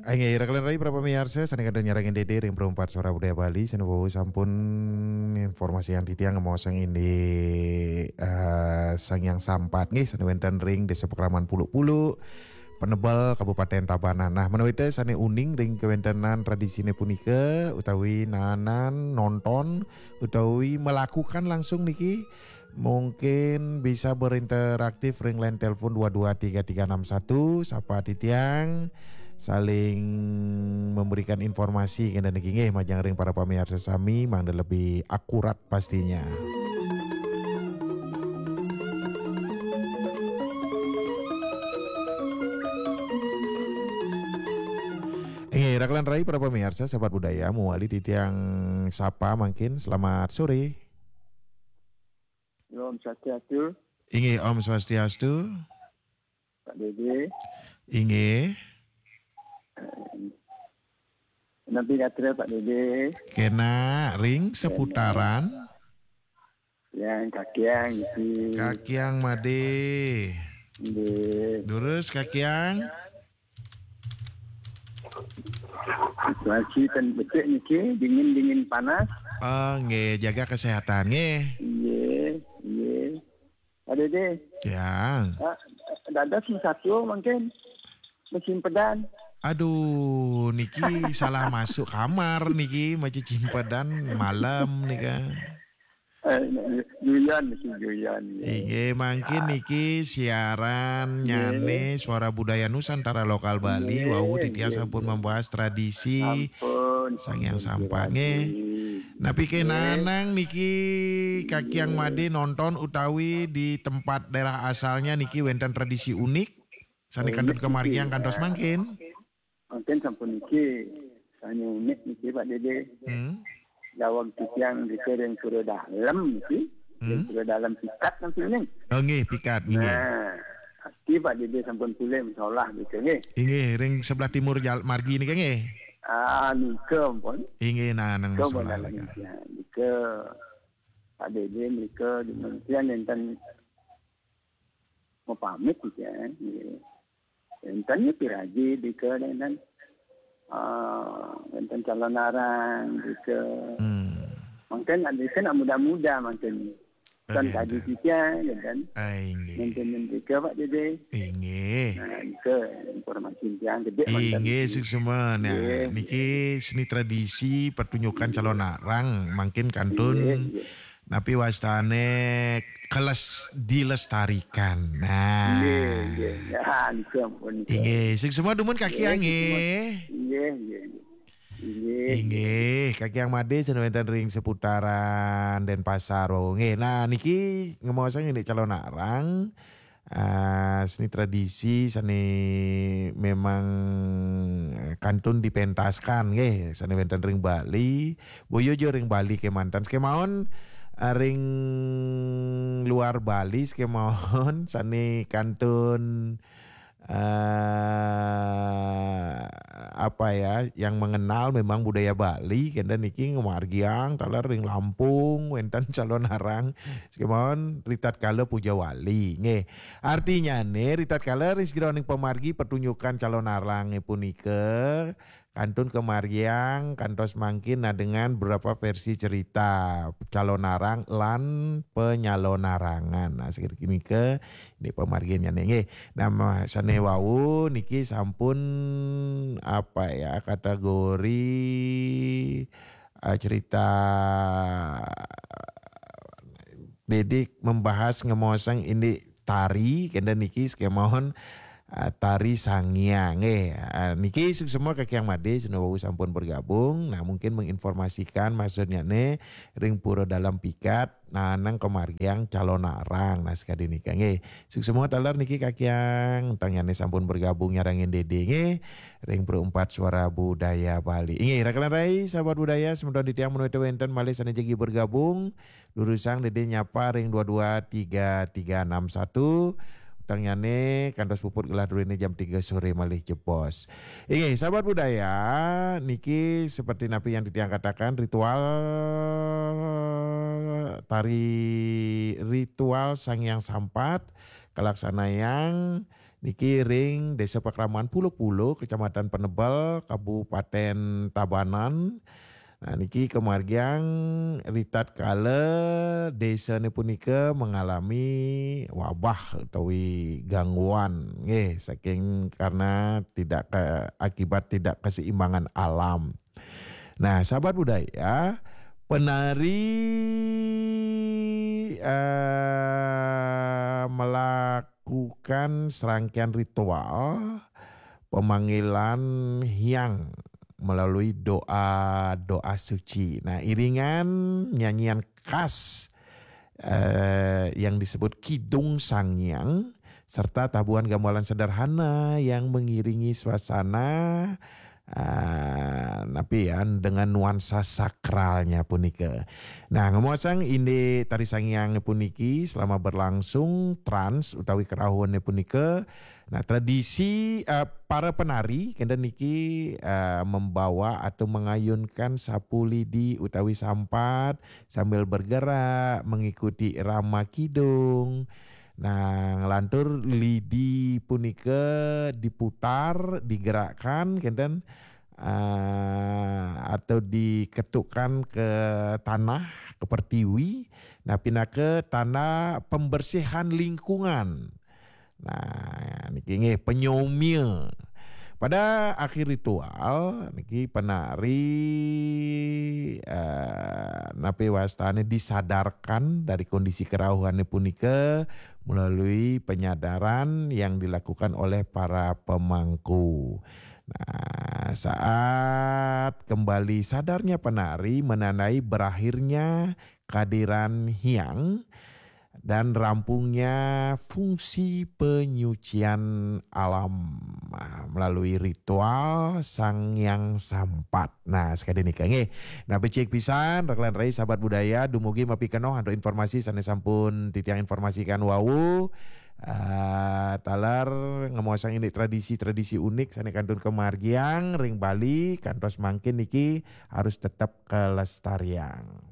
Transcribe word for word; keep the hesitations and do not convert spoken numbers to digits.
Inggih, raka lan rai para pamiarsa, sané kantun nyarengin Dédé ring Perumpat Suara Budaya Bali, sané wau sampun informasiang titiang ngemaosang indik, eh, Sang Hyang Sampat, nggih, sané wénten ring Désa Pakraman Puluk-Puluk, Penebel, Kabupaten Tabanan. Nah, ménawi té sané uning ring kawéntenan tradisiné punika, utawi nanan nonton, utawi melakukan langsung niki, mungkin bisa berinteraktif ring line telepon dua dua tiga tiga enam satu, sapa titiang saling memberikan informasi kénten niki nggih majeng ring para pamiarsa sami mangda lebih akurat pastinya. Inggih, raka lan rai para pamiarsa, sahabat budaya, mawali titiang sapa mangkin, selamat sore. Om Swastiastu. Inggih, Om Swastiastu. Pak Dédé. Inggih. Napi gatra Pak Dédé? Kénak ring seputaran. Yang kakiang isi. Kakiang Madé. Nggih. Durus kakiang. Situasi ten becik niki, dingin-dingin panas. Oh, nggih, jaga kesehatan nggih. Nggih, nggih. Pak Dédé. Ya. Ah, dados mesatua mangkin. Mesimpedan. Aduh, niki salah masuk kamar niki, macecimpedan malam nika. Eh, guyon niki, guyon. Inggih, mangkin niki siaran nyané Suara Budaya Nusantara Lokal Bali, wau titiang sampun membahas tradisi Sang Hyang Sampat nggih. Napi ké nanang niki kakiang Madé nonton utawi di tempat daerah asalnya niki wénten tradisi unik sané kantun kamargiang kantos mangkin? Mangkin sampun niki, sané unik niki Pak Dédé. Hmm. Daweg titiang niki ring Pura Dalem niki. Ring Pura Dalem Pikat niki ning. Oh nggih, Pikat nggih. Nah, niki Pak Dédé sampun pulih masalah niki nggih. Inggih, ring sebelah timur jal-, margi niki nggih. Ah, nika pun. Inggih, nah, nang nika masalah pun nika. Nika Pak Dédé nika di Kementerian enten mapamit niki, nggih. Enten niki raji nika enten, ah, enten calonarang nika. Hmm. Mangkin nika nak muda-muda mangkin. Kan tadi kita, ya kan? Ai, nggih. Enten nika Pak Dédé. Inggih. Nah, nika informasi tiang gedé mangkin. Inggih, suksma. Nah, nggih, niki seni tradisi pertunjukan calonarang mangkin kantun. Nggih, nggih. Napi wastané keles-, dilestarikan. Nah. Nggih, nggih. Ya, nika ampun, nika. Inggih, suksma dumun kakiang nggih. Nggih, nggih, nggih. Inggih. Inggih, kakiang Madé sané wénten ring seputaran Denpasar wau. Nggih. Nah, niki ngemaosang indik calonarang. Ah, seni tradisi sané memang, eh, kantun dipentaskan nggih, sané wénten ring Bali, boya ja ring Bali kémanten, sakémaon, eh, ring luar Bali sakémaon sané kantun, eh, apa ya, yang mengenal memang budaya Bali, kénten niki ngamargiang taler ring Lampung, wénten calonarang, sakémaon ritatkala puja wali, nggih. Artinyané, ritatkala ring sajeroning pamargi pertunjukan calonarangé punika, kantun kamargiang kantos mangkin nadengan beberapa versi cerita calonarang lan penyalonarangan. Nah, sapunika indik pamarginnyané nggih. Nah, ma-, sané wau niki sampun, apa ya, kategori, eh, cerita Dédé membahas ngemaosang indik tari, kénten niki sakémaon, eh, tari Sang Hyang. Eh, eh, niki suksma kakiang Madé, sané wau sampun bergabung. Nah, mungkin menginformasikan maksudnyané ring Pura Dalem Pikat, nah, nang kamargiang calonarang. Nah, sakadi nika nggih. Suksma taler niki kakiang, tangsané sampun bergabung nyarengin Dédé nggih. Ring Perumpat Suara Budaya Bali. Inggih, raka lan rai, sahabat budaya, semeton titiang menawi wénten malih sané jagi bergabung. Durusang Dédé nyapa ring dua dua tiga tiga enam satu. Utangnyané kantos puput gelah druéné jam tiga sore malih jebos. Inggih, sahabat budaya, niki seperti napi yang titiang katakan, ritual tari, ritual Sang Hyang Sampat kalaksanayang Niki ring Desa Pakraman Puluk-Puluk, Kecamatan Penebel, Kabupaten Tabanan. Nah, niki kemargiang ritatkala desane punika mengalami wabah utawi gangguan nggih saking karena tidak ke, akibat tidak keseimbangan alam. Nah, sahabat budaya, penari eh, melakukan serangkaian ritual pemanggilan hyang melalui doa-doa suci. Nah, iringan nyanyian khas eh, yang disebut Kidung Sangyang serta tabuhan gamelan sederhana yang mengiringi suasana ah, napi ya dengan nuansa sakralnya punika. Nah, ngomong indik tari sangyang puniki selama berlangsung trans utawi kerauhan punika. Nah, tradisi eh, para penari kenten niki eh, membawa atau mengayunkan sapu lidi utawi sampat sambil bergerak mengikuti irama kidung. Nah, ngelantur lidi punika diputar, digerakkan kenten eh, atau diketukkan ke tanah, ke pertiwi. Nah, pinaka tanda pembersihan lingkungan. Nah, niki nggih penyomia. Pada akhir ritual niki penari eh, napi wastane disadarkan dari kondisi kerauhane punika melalui penyadaran yang dilakukan oleh para pemangku. Nah, saat kembali sadarnya penari menandai berakhirnya kehadiran hyang dan rampungnya fungsi penyucian alam ah, melalui ritual Sang Hyang Sampat. Nah, sekali nika nggih. Nah, becik pisan rekan rai sahabat budaya dumugi mapikenoh antuk informasi sane sampun titiang informasikan wau. Uh, taler ngemuasang ini tradisi-tradisi unik sane kantun kemargiang ring Bali kantos mangkin niki harus tetap kelestariang.